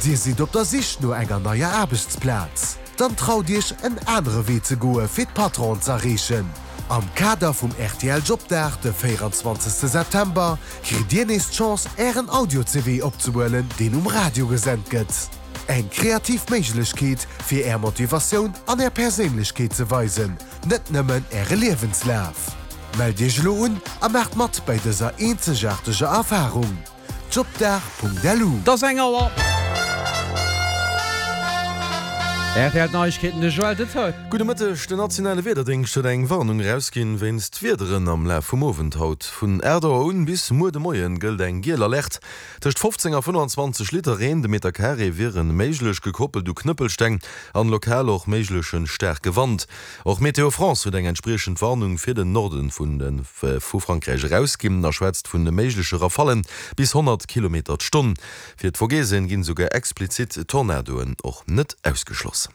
Dir sidd op der Sich no enger neier Aarbechtsplaz? Dann traut Iech en anere Wee ze goe fir d'Patronen z'erreechen. Am Kader vum rtl Jobdag de 24 September kritt Dir nees d'Chance Ären Audio-CV opzehuelen deen um Radio gesent gëtt. Eng kreativ Méiglechkeet fir Är Motivatioun an Är Perséinlechkeet ze weisen, net nëmmen Äre Liewenslaf. Mellt Iech elo un a maacht mat bäi dëser eenzegaarteger Erfarung. Jobdag.lu. Et ass eng Auer. Rtl Neiegkeeten, de Joël Detail. Gudde Mëtteg, Den nationale Wiederdéngscht huet eng Warnung erausginn wéinst Wiederen am Laf vum Owend haut. Vun 8 Auer un bis muer de Moien gëllt eng giel Alerte. Tëscht 15 a 25 Liter Reen de Meter Carré wieren méiglech, gekoppelt u Knëppelsteng an lokal och méigleche staarke Wand. Och Météo France huet eng entspriechend Warnung fir den Norde vu Frankräich erausginn a schwätzt vun méigleche Rafallen bis 100 Kilometer d'Stonn. Fir d'Vogesen ginn esouguer explizit Tornadoen och net ausgeschloss.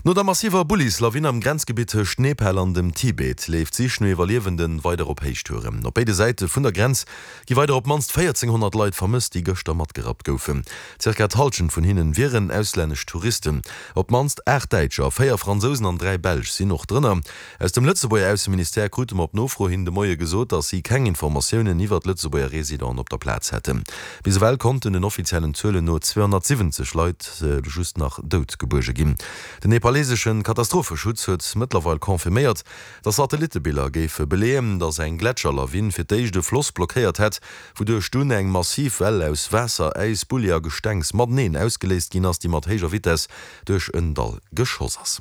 No der massiver Bullislawin am Grenzgebitt tëscht Nepal an dem Tibet leeft d'Sich no Iwwerliewenden weider op Héichtouren. Op béide Säite vun der Grenz gi weider op d'mannst 1.400 Leit vermësst, déi gëschter matgerappt goufen. Zirka d'Hallschent vun hinnen wieren auslännesch Touristen. Op d'mannst 8 Däitscher, 4 Fransousen an 3 Belsch sinn och drënner. Aus dem Lëtzebuerger Ausseministère krute mer op Nofro hin de Moie gesot, datt si keng Informatiounen iwwert Lëtzebuerger Residenten op der Plaz hätten. Bis ewell konnten den offiziellen Zuelen no 270 Leit just nach dout gebuerge ginn. Den nepaleseschen Katastropheschutz huet mëttlerweil confirméiert, datt Satellittebiller géife beleeën, datt eng Gletscherlawin fir d'éischt e Floss blockéiert hätt, wouduerch dunn eng massiv Well aus Waasser, Äis, Bulli a Gestengs mateneen ausgeléist ginn ass, déi mat héijer Vitess duerch en Dall geschoss ass.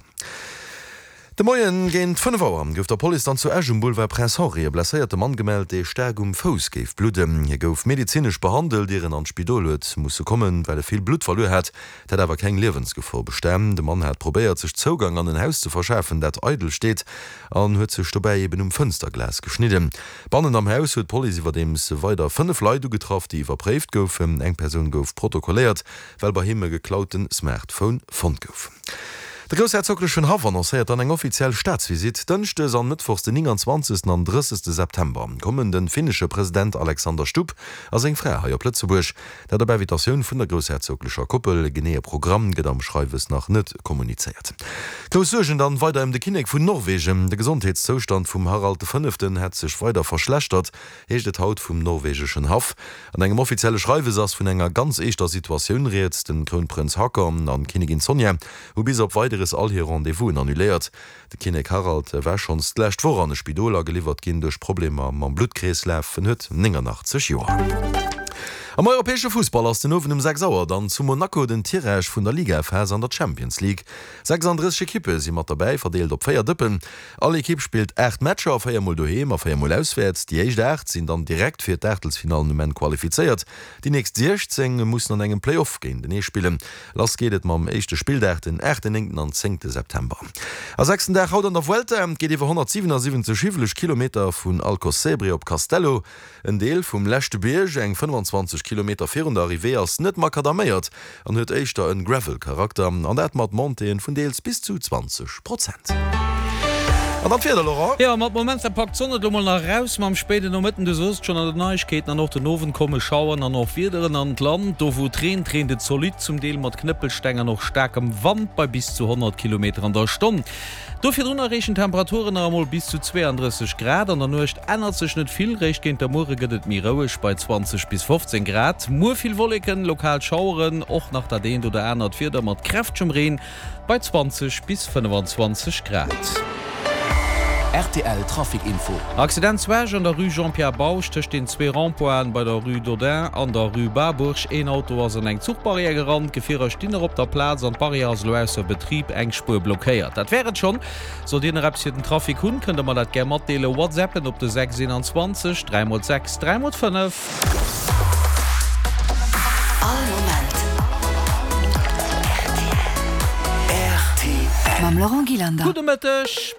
De Moien géint 5 Auer gouf der Police dann zu Esch um Boulevard Prince Henri e blesséierte Mann gemellt, dee staark um Fouss géif bludden. Hie gouf medezinesch behandelt, ier en an d'Spidol huet musse kommen, well e vill Blutt verluer hat. Et hätt awer keng Liewensgefor bestan. De Mann hat probéiert, sech Zougang an en Haus ze verschafen, dat eidel steet, an huet sech dobäi eben um Fënsterglas geschnidden. Bannen am Haus huet d'Police iwwerdeems weider 5 Leit ugetraff, déi iwwerpréift goufen. Eng Persoun gouf protokolléiert, well bei him e geklaute Smartphone fonnt gouf. De groussherzoglechen Haff annoncéiert dann eng offiziell Staatsvisitt. Dënschdes an Mëttwochs den 29. an 30. September kommen de finnesche President Alexander Stubb a seng Fra hei op Lëtzebuerg. Dat op Invitatioun vun der groussherzoglecher Koppel. E geneeë Programm gëtt am Schreiwes nach net kommunizéiert. Grouss Suergen dann weider ëm de Kinnek vun Norwegen. De Gesondheetszoustand vum Harald de Fënneften hätt sech weider verschlechtert, heescht et haut vum norwegeschen Haff. An engem offizielle Schreiwes ass vun enger ganz eeschter Situatioun rieds. Den Krounprënz Haakon an d'Kinnigin Sonja hu bis op Weideres all hir Rendez-vousen annuléiert. De Kinnek Harald war schonns d'lescht Woch an e Spidol ageliwwert ginn duerch Problemer mam Bluttkreeslaf. En huet 89 Joer. Am europäesche Fussball ass den Owend um 6 Auer dann zu Monaco den Tirage vun der Ligaphas an der Champions League. 36 Ekippe si mat derbäi, verdeelt op 4 Dëppen. All Ekipp spillt 8 Matcher, 4 mol doheem a 4 mol auswäerts. Déi éischt 8 sinn dann direkt fir d'Aachtelsfinallen um Enn qualifizéiert. Déi nächst 16 mussen an engem Play-Off géintenee spillen. Lass geet et mam éischte Spilldag den aachten, néngten an zéngte September. A sechsten Dag haut an der Vuelta. Et geet iwwer 177 hiwweleg Kilometer vun Alcossebre op Castello. En Deel vum leschte Bierg, eng 25 Kilometer virun der Arrivée, ass net makadaméiert an huet éischter en Gravel-Charakter, an dat mat Montéeën vun deels bis zu 20 Prozent. An dann d'Wieder, Laurent? Jo, mat Momenter packt d'Sonn et elo mol nach eraus, ma am spéiden Nomëtten, du soos et schonn an den Neiegkeeten, an och den Owend komme Schaueren an och Wiederen an d'Land. Do wou et reent, reent et zolidd, zum Deel mat Knëppelsteng an och staarkem Wand bei bis zu 100 Kilometer an der Stonn. Do virdrun erreechen d'Temperaturen nach emol bis zu 32 Grad. An der Nuecht ännert sech net vill, réischt géint der Muere gëtt et méi roueg bei 20 bis 15 Grad. Muer vill Wolleken, lokal Schaueren, och nach dat eent oder anert Wieder mat kräftegem Reen bei 20 bis 25 Grad. Rtl Trafic Info. Accident zu Esch an der Rue Jean-Pierre Bausch tëscht den zwee Rond-pointen bei der Rue d'Audun an der Rue Barbourg. Een Auto ass an eng Zuchbarrière gerannt. D'Gefierer stinn nach op der Plaz an d'Barrière ass elo ausser Betrib, eng Spuer blockéiert. Dat wär et schonn. Sollt Dir nach eppes fir den Trafic hunn, kënnt der mer dat gär matdeelen. Whatsappen op de 6 21 3 x 6 3 x 5. All Moment rtl. Mam Laurent Gillander. Gudde Mëtteg.